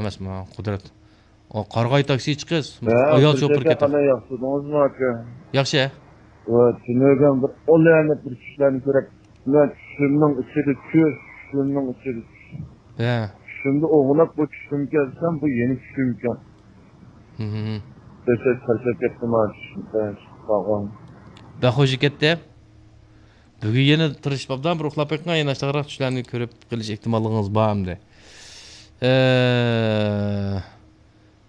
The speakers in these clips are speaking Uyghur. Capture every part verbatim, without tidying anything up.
ئەمەسمۇ، قۇدرەت. ئۇ قارىغاي تاكسى چىقىز. ھە، ئايال شوپۇر كەتتى. قانداق ياخشى تۇردىڭىزمۇ ئاكا؟ ياخشى. ۋە، تۈنۈگۈن بىر ئۇلارنى بىر چۈشلەرنى كۆرۈپ، مەن چۈشۈمنىڭ ئىچىدە چۈش، چۈشۈمنىڭ ئىچىدە چۈش. ھە. چۈشۈمدە ئويغىنىپ، بۇ چۈشۈمكەن دېسەم، بۇ يەنە چۈشۈمكەن. ھىم، ھىم، ھىم. دەھشەت چارچاپ كەتتىم ھە، چۈشۈمدە قالغان. بەك خوش كەتتى. بۈگۈن يەنە تىرىشىپ ئابدان بىر ئۇخلاپ بېقىڭ، يەنە ئاشتاغراق چۈشلەرنى كۆرۈپ قېلىش ئېھتىماللىقىڭىز بار ئەمدى. ئە،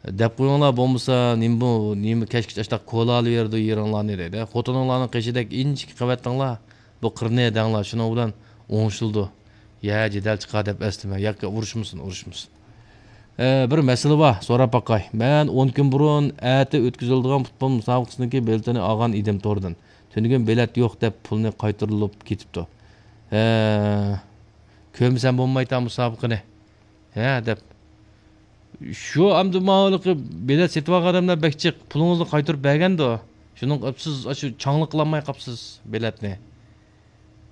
دەپ قويۇڭلار، بولمىسا نېمە بۇ، نېمە كەچكىچە ئاشتاق كولا ئالىۋېرىدۇ يېرىڭلارنى دەيدۇ. خوتۇنۇڭلارنىڭ قېشىدەك ئىنچىكە قەۋەتلەڭلار، بۇ قىرنى ھەدەڭلار، شۇنىڭ بىلەن ئوڭشىلىدۇ. يا جېدەل چىقار دەپ ئەسلىمە، ياكى ئۇرۇشمىسۇن، ئۇرۇشمىسۇن. ئە، بىر مەسىلە بار، سوراپ باقاي. مەن ئون كۈن بۇرۇن ئەتە ئۆتكۈزۈلىدىغان پۇتبول مۇسابىقىسىنىڭكى بېلىتىنى ئالغان ئىدىم توردىن. تۈنۈگۈن بېلەت يوق دەپ پۇلنى قايتۇرۇلۇپ كېتىپتۇ. ھە، كۆرمىسەم بولمايتا مۇسابىقىنى. ھە، دەپ. شۇ ئەمدى ماۋۇلۇقى بېلەت سېتىۋالغان ئادەملەر بەك جىق. پۇلىڭىزنى قايتۇرۇپ بەرگەندۇ. شۇنىڭ سىز ئاشۇ چاڭلىق قىلالماي قاپسىز بېلەتنى.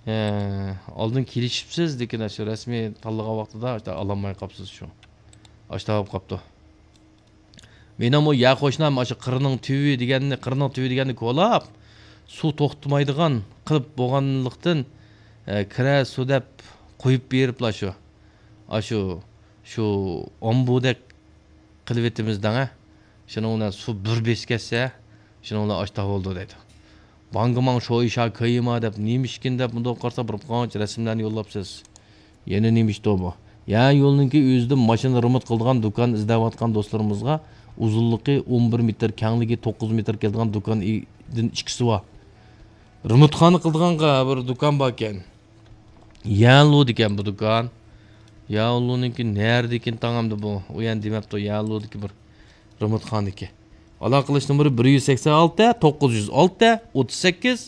ھە، ئالدىن كېلىشىپسىز، لېكىن ئاشۇ رەسمىي تاللىغان ۋاقتىدا ئاشۇ ئالالماي قاپسىز شۇ. ئاشۇنداق بولۇپ قاپتۇ. مېنىڭمۇ يەر قوشنام ئاشۇ قىرنىڭ تۈۋى دېگەننى، قىرنىڭ تۈۋى دېگەننى كولاپ، سۇ توختىمايدىغان قىلىپ بولغانلىقتىن، ئە، كىرە سۇ دەپ قويۇپ بېرىپلا شۇ، ئاشۇ، شۇ ئومبۇدەك قىلىۋېتىمىز دەڭە. شۇنىڭ بىلەن سۇ بىر بېسىپ كەتسە، شۇنىڭ بىلەن ئاشتاق بولىدۇ دەيدۇ. بانگىماڭ شويشا كېيىما دەپ نېمىشكىن دەپ مۇنداق قارىسا بىر قانچە رەسىملەرنى يوللاپسىز. يەنە نېمە ئىشتۇ بۇ؟ يا يولنىڭكى ئۆزىدە ماشىنا رېمونت قىلىدىغان دۇكان ئىزدەۋاتقان دوستلىرىمىزغا ئۇزۇنلۇقى ئون بىر مېتىر، كەڭلىكى توققۇز مېتىر كېلىدىغان دۇكان ئىدىن ئىككىسى بار. رېمونتخانا قىلىدىغانغا بىر دۇكان باركەن. يەنلۇدىكەن بۇ دۇكان. يەنلۇنىڭكى نەدىكىن تاڭامدۇ بۇ؟ ئۇ يەنە دېمەپتۇ، يەنلۇدىكى بىر رېمونتخانىكى. ئالاقىلىشىش نومۇرى بىر يۈز سەكسەن ئالتە، توققۇز يۈز ئالتە، ئوتتۇز سەككىز.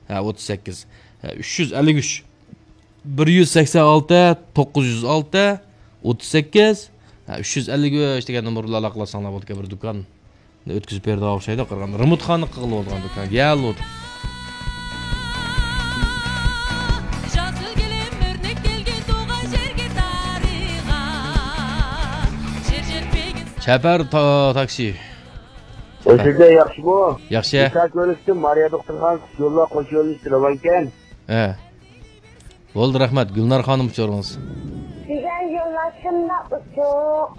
ھە، ئوتتۇز سەككىز. ھە، ئۈچ يۈز ئەللىك ئۈچ. بىر يۈز سەكسەن ئالتە، توققۇز يۈز ئالتە، ئوتتۇز سەككىز. ھە، ئۈچ يۈز ئەللىك ئۈچ دېگەن نومۇر بىلەن ئالاقىلاشساڭلار بولىدىكەن، بىر دۇكان. ئۆتكۈزۈپ بېرىدىغان ئوخشايدۇ، قارىغاندا. رېمونتخانا قىلغىلى بولىدىغان دۇكان. يەلۇد. چەپەر تا-، تاكسى. ئۆزۈڭلار ياخشىمۇ؟ ياخشى. ئىسا كۆرۈشتۈم، مارىيا دوختۇرخانىسى يوللار قوش يوللىشىپ تۇرۇۋالغانكەن. ھە. بولدى، رەھمەت. گۈلنار خانىم، ئۇچۇرىڭىز. دېگەن يوللار شۇنداق ئوچۇق.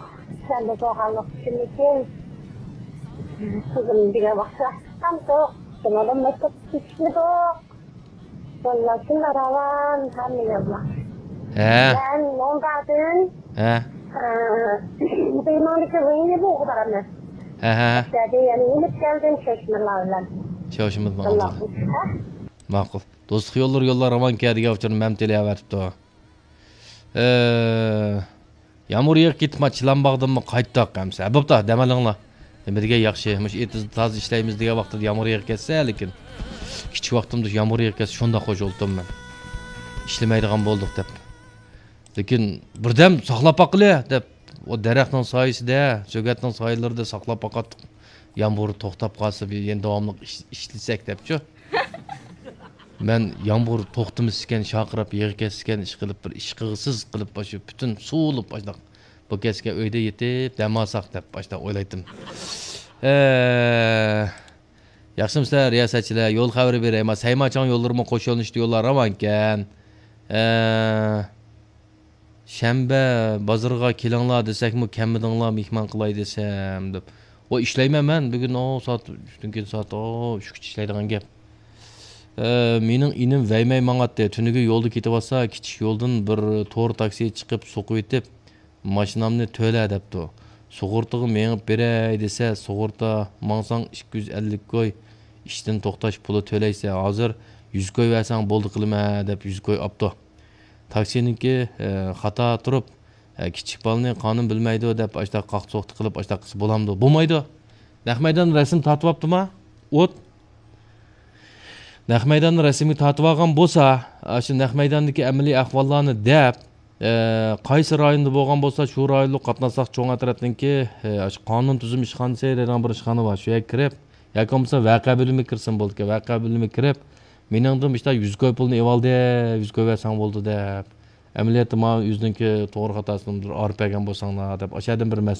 سەندە بولغانلىق ئۈچۈنمىكىن؟ قىزىم دېگەن ۋاقىتتا چىققانتۇق. شۇنىڭدىن مەكتەپكە كېتىشمىدۇق. يوللار شۇنداق راۋان، ھەممە يوللار. ھە. مەن موڭدادىن، ھە. ئە، بېيماڭدىكى ۋېينى بوغۇدارمەن. ھە، ھە. ئەتىدە يەنە يېنىپ كەلدىم، چەشمىلار بىلەن. چەشمە بىلەن. شۇنداق. ماقۇل. دوستلۇق يوللىرى يوللار راۋانكەن دېگەن ئۇچۇرنى مەمتىلى ئەۋەتىپتۇ. ئە، يامغۇر يېغىپ كېتىپ، ما چىلان باغدىنمۇ قايتتۇق ئەمسە. بوپتۇ، دەم ئېلىڭلار. نېمە دېگەن ياخشى، مۇشۇ ئېتىزدا تازا ئىشلەيمىز دېگەن ۋاقتىدا يامغۇر يېغىپ كەتسە، لېكىن كىچىك ۋاقتىمدا يامغۇر يېغىپ كەتسە، شۇنداق خوش بولدۇم مەن. ئىشلىمەيدىغان بولدۇق دەپ. لېكىن بىردەم ساقلاپ باققىلى دەپ، ئۇ دەرەخنىڭ سايىسىدە، سۆگەتنىڭ سايىلىرىدا ساقلاپ باقاتتۇق. يامغۇر توختاپ قالسا، بىر يەنە داۋاملىق ئىش-، ئىشلىسەك دەپچۇ. مەن يامغۇر توختىمىسىكەن، شارقىراپ يېغىپ كەتسىكەن، ئىشقىلىپ بىر ئىش قىلغۇسىز قىلىپ، ئاشۇ پۈتۈن سۇۋۇلۇپ، ئاشۇنداق بۇ كەتسىكەن ئۆيدە يېتىپ دەم ئالساق دەپ، ئاشۇنداق ئويلايتتىم. ئە، ياخشىمۇسىلەر رىياسەتچىلەر؟ يول خەۋىرى بېرەي. ما سەيماچاڭ يوللىرىمۇ قوش يۆنىلىشتە يوللار راۋانكەن. ئە، شەنبە بازىرىغا كېلىڭلار دېسەكمۇ كەلمىدىڭلار، مېھمان قىلاي دېسەم دەپ. ۋاي، ئىشلەيمەن مەن بۈگۈن، ئو، سائەت ئۈچتىن كېيىن سائەت، ئو، ئۈچكىچە ئىشلەيدىغان گەپ. ئە، مېنىڭ ئىنىم ۋەيمەي ماڭاتتى. تۈنۈگۈن يولدا كېتىۋاتسا، كىچىك يولدىن بىر تور تاكسى چىقىپ سوقۇۋېتىپ، ماشىنامنى تۆلە دەپتۇ. سۇغۇرتىغا مېڭىپ بېرەي دېسە، سۇغۇرتا ماڭساڭ ئىككى يۈز ئەللىك كوي، ئىشتىن توختاش پۇلى تۆلەيسەن، ھازىر يۈز كوي بەرسەڭ بولدى قىلىمەن دەپ يۈز كوي ئاپتۇ. تاكسىنىڭكى، ئە، خاتا تۇرۇپ، ئە، كىچىك بالىنى قانۇن بىلمەيدۇ دەپ ئاشتا قاقسوقتا قىلىپ ئاشتا قىلسا بولامدۇ؟ بولمايدۇ. نەق مەيدان رەسىم تارتىۋاپتىما؟ ئوت. نەق مەيداننى رەسىمگە تارتىۋالغان بولسا، ئاشۇ نەق مەيداندىكى ئەمەلىي ئەھۋاللارنى دەپ، ئە، قايسى رايوندا بولغان بولسا، شۇ رايونلۇق قاتناشساق چوڭ ئەترەتنىڭكى، ئە، ئاشۇ قانۇن تۈزۈم ئىشخانىسى دەيدىغان بىر ئىشخانا بار، شۇ يەرگە كىرىپ، ياكى بولمىسا ۋەقە بۆلۈمىگە كىرسىمۇ بولىدىكەن. ۋەقە بۆلۈمىگە كىرىپ، مېنىڭدىن مۇشۇنداق يۈز كوي پۇلنى ئېۋالدى، يۈز كوي بەرسەڭ بولدى دەپ. ئەمەلىيەتتە ماڭا ئۆزىنىڭكى توغرا خاتاسىنى بىر ئايرىپ بەرگەن بولساڭلار دەپ، ئاشۇ يەردىن بىر مەس-،